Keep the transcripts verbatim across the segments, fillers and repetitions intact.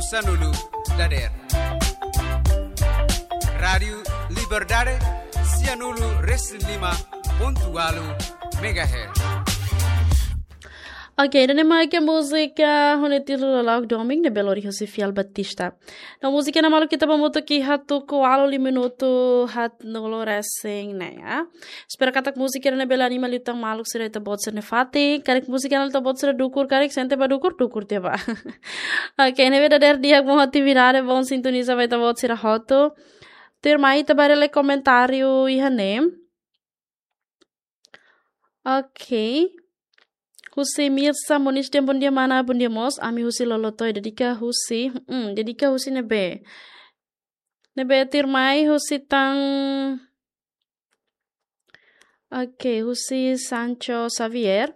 Sanulu dader. Rádiu Liberdade, sianulu resin lima pontu ualu megahertz. Oke, ida-ne'e mak múzika ho títulu Lalok Domin ne'ebé lori husi Fiel Batista. No múzika ne'e maluk ita bá hamutuk iha tuku ualu lima minutu haatnulu resin neen, ya. Espera katak múzika ne'e bele anima liután maluk sira ita-boot sira-nia fatin. Karik múzika ne'e ita-boot sira dukur, karik sente bá dukur, dukur tiha bá. Oke, ne'ebé dader di'ak, boa atividade, bom sintoniza ba ita-boot sira hotu. Tuirmai ita bá haree lai komentáriu iha ne'e. Oke. Husi Mirsa Moniz dehan bondia mana, bondia mós, ami husi Lolotoe, dedika husi, hmm, dedika husi ne'ebé. Ne'ebé tuirmai husi tan, oke, husi Sancho Xavier.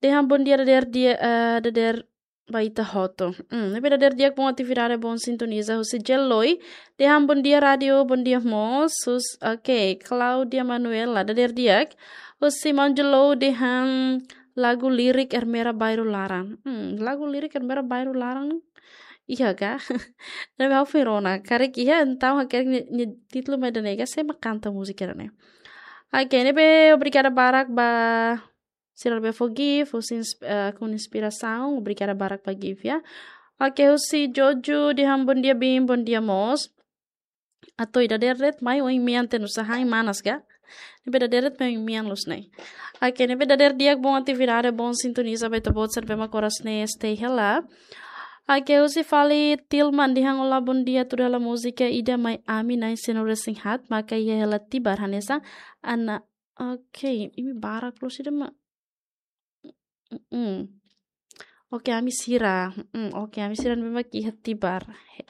Dehan bondia dader dia, eh, dader ba ita hotu. Hmm, ne'ebé dader di'ak, bom atividade, bom sintoniza husi Jeloi. Dehan bondia rádiu, bondia mós. Hus-, oke, Claudia Manuela, dader di'ak. Husi Manjelo dehan lagu lirik Ermera Bairru Laran. Hmm, lagu lirik Ermera Bairru Laran. Iha ka? Ne'ebé ha'u foin rona. Karik iha, entaun ha'u karik nia, nia títulu mak ida-ne'e ka, sé mak kanta múzika ida-ne'e. Oke, ne'ebé obrigada barak ba sira ne'ebé fó gift, husi ins-, eh, ho inspirasaun, obrigada barak ba gift, ya. Oke, husi Jojo dehan bondia Bim, bondia mós. Atu ida dader de'it mai oin mean tiha, nusa hain manas ka? Ne'ebé dader de'it mai oin mean loos ne'e. Oke, ne'ebé dader di'ak, bom atividade, bom sintoniza ba ita-boot sira ne'ebé mak oras ne'e stay hela. Oke, husi Fali Tilman dehan olá, bondia, tuda hela múzika ida mai ami na'in-sanulu resin haat, maka iha hela Tibar hanesan Ana, oke, imi barak loos ida mak. Mm-mm. Oke, ami sira. Mm-mm. Oke, ami sira ne'ebé mak iha Tibar. He-,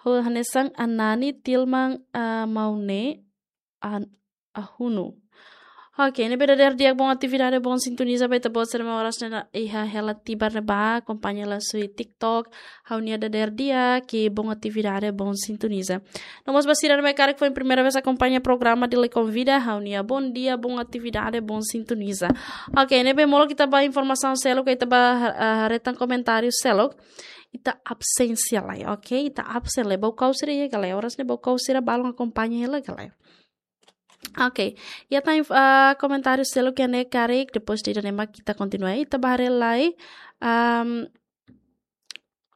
ho hanesan Anani, Tilman, ah, Maune, an-, Ahunu. Oke, ne'ebé dader di'ak, bom atividade, bom sintoniza ba ita-boot sira ne'ebé oras ne'e iha hela Tibar ne'ebá, akompaña lai husi TikTok, ha'u-nia dader di'ak, bom atividade, bom sintoniza. No mós ba sira ne'ebé karik foin primeira vez akompaña programa Dili Konvida, ha'u-nia bondia, bom atividade, bom sintoniza. Oke, ne'ebé molok ita bá informasaun seluk, ita bá ha-, ah, haree tan komentáriu seluk. Ita absen lai, oke? Ita absen lai. Baukaus sira iha ka lae? Oras ne'e baukaus sira balun akompaña hela ka lae? Oke, iha tan inf-, ah, komentáriu seluk iha ne'e karik, depois de ida-ne'e mak ita kontinua. Ita bá haree lai, am,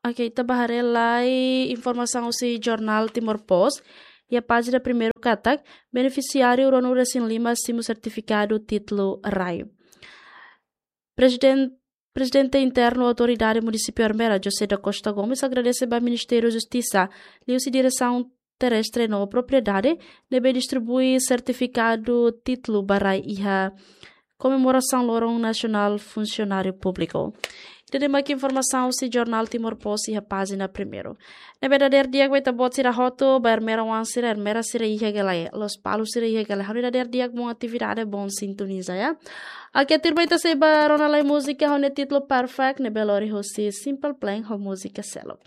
oke, ita bá haree lai informasaun husi jornál Timor Post. Iha pájina primeiru katak, benefisiáriu ruanulu resin lima simu sertifikadu títulu rai. Preziden-, Prezidente Internu Autoridade Munisípiu Ermera, José da Costa Gomes, agradese ba Ministériu Justisa, liuhusi Diresaun Terrestre no Propriedade, ne'ebé distribui sertifikadu títulu ba rai iha komemorasaun Loron Nasionál Funsionáriu Públiku. Ida-ne'e mak informasaun husi jornál Timor Post iha pájina primeiru. Ne'ebé dader di'ak ba ita-boot sira hotu, ba Ermera oan sira, Ermera sira iha ka lae, Lospalos sira iha ka lae. Ha'u-nia dader di'ak, bom atividade, bom sintoniza, ya. Oke, tuirmai ita sei bá rona lai múzika ho títulu Perfect, ne'ebé lori husi Simple Plan ho múzika seluk.